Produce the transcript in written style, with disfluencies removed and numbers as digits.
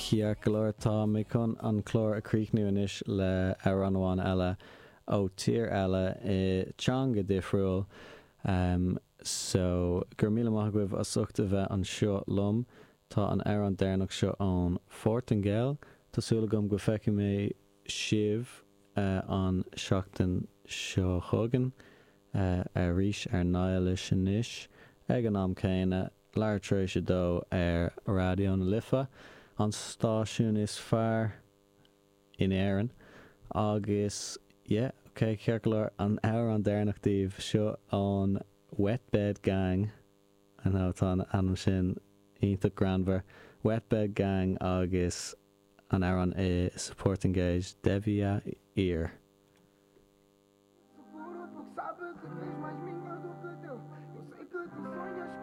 Ceart go leor, tá mé chun an clár a chríochnú anois le amhrán amháin eile ó tír eile i teanga difriúil. So, go raibh míle maith agaibh as ucht a bheith anseo liom. Tá an amhrán deireanach seo ón Phortaingéil. Tá súil agam go bhfeicfidh mé sibh an seachtain seo chugainn arís ar Niallish anois ag an am céanna, leathuair tar éis a dó ar Raidió na Life, an stáisiún is fearr in Éirinn. Agus yeah, ok, ceart go leor, an amhrán deireanach daoibh, seo ón Wet Bed Gang, I know, tá an ainm sin iontach greannmhar, Wet Bed Gang agus an amhrán i sa Phortaingéis, Devia Ir.